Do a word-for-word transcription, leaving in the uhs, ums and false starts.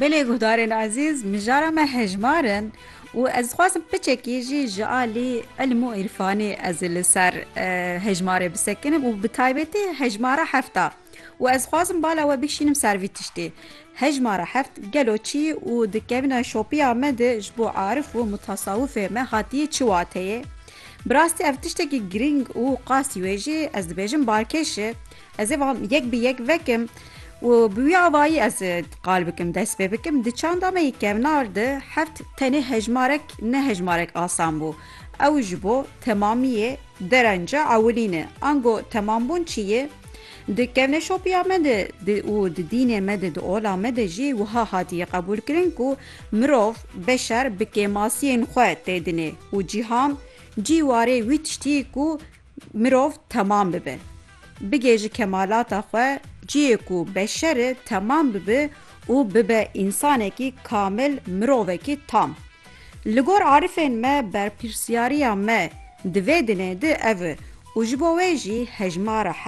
Belê guhdarên ezîz, mijara me hejmar in û ez dixwazim piçekî jî ji alî ilm û îrfanê ez li ser, e, hejmarê bisekinim û bi taybetî hejmara hefta. Û ez dixwazim bala we bikişînim ser vî tiştê. Hejmara heft gelo çi û di kevna şopiya me de ji bo arif û mutasawifê me hatiye çi wateyê? Bi rastî ev tiştekî girîng û qasî wê jî ez dibêjim balkêş e. Ez ê van yek bi yek vekim û bi wî avayî ez ê qal bikim, dest pê bikim. Di çanda me yê kevnar de heft tenê hejmarek, ne hejmarek asan bû. Ew ji bo temamiyê derenca ewilî ne. Ango temambûn çi ye? Di kevneşopiya me de di, û di dînê me de, di ola me de jî wiha hatiye qebûlkirin ku mirov, beşer bi kêmasiyên xwe tê dinê û cîhan cî warê wî tiştî ku mirov temam bibe. Bigê ji kemalata xwe, ciyê ku beşer e temam bibe û bibe însanekî kamil, mirovekî tam. Li gor arifên me, berpirsiyariya me di vê dinê de ev e û ji bo wê jî hejmara